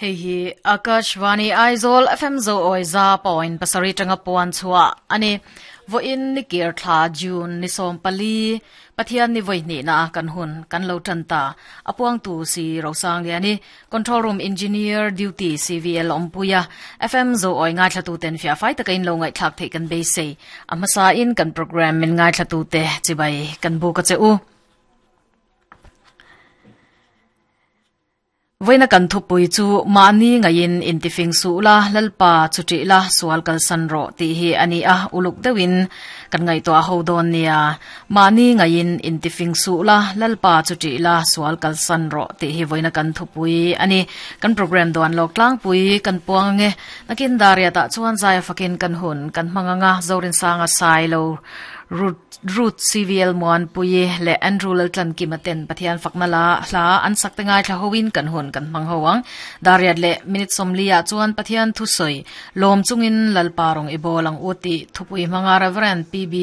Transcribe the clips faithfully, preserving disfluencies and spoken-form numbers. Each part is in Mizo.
Hei hi Akashvani Aizawl F M zo oi za point pasarih tanga puan chhuah ani. Vawiin ni kir thla June ni sawm pali Pathian ni vawi hnih na kan hun kan lo tan ta. A puangtu si Rosang Liani, control room engineer duty C V L Ompuia. F M zo oi ngai thlatu ten fia fai taka in lo ngai thlak thei kan beisei. A hmasa in kan program min ngai thlatu te chibai kan bu ka che u. Voina kan thupui chu mani ngain intifing su la lalpa chuti la sual kal san ro ti hi ani a. Uluk deuhin kan ngai to ho don nia. Mani ngain intifing su la lalpa chuti la sual kal san ro ti hi voina kan thupui ani. Kan program don lok tlang pui kan puang nge nakin daria ta chuan zai fakin kan hun kan manganga zorin sanga sai lo root root C V L muan pui le Andrew Laltlan kimaten Pathian fakna la hla an sak te ngai thla hoin kan hun kan mang hoang. Dariat le minute somlia chuan Pathian thu soi lom chungin lalparong ibolang uti thupui manga Reverend P B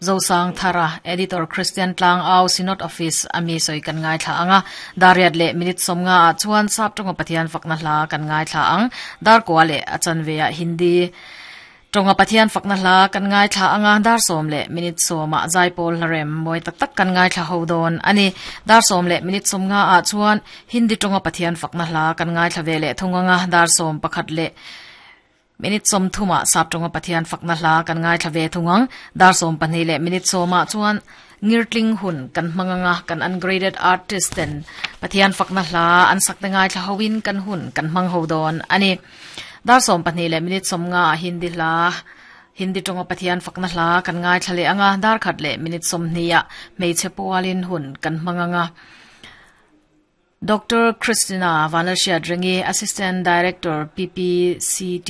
Zosang Thara, editor, Christian Tlang Au, Synod Office ami soi kan ngai thla anga. Dariat le minute somnga chuan sap tonga Pathian fakna hla kan ngai thla ang. Dar kwa le achan veya Hindi tonga Pathian fakna hla kan ngai thla anga. Dar som le minute soma zaipol hlarem moi tak tak kan ngai thla ho don ani. Dar som le minute som nga a chuan Hindi tonga Pathian fakna hla kan ngai thla ve le thunga. Dar som pakhat le minute som thuma sap tonga Pathian fakna hla kan ngai thla ve thungang. Dar som pahnih le minute soma chuan ngirtling hun kan manganga kan ungraded artist ten Pathian fakna hla an sak te ngai thla hoin kan hun kan mang ho don ani. Dar som pahnih le minute som nga Hindi hla, Hindi tonga Pathian fakna hla kan ngai thlale anga. Dar khat le minute som hnia meiche pualin hun kan manganga Doctor Christina Vanalshia Dringi, Assistant Director, P P C T.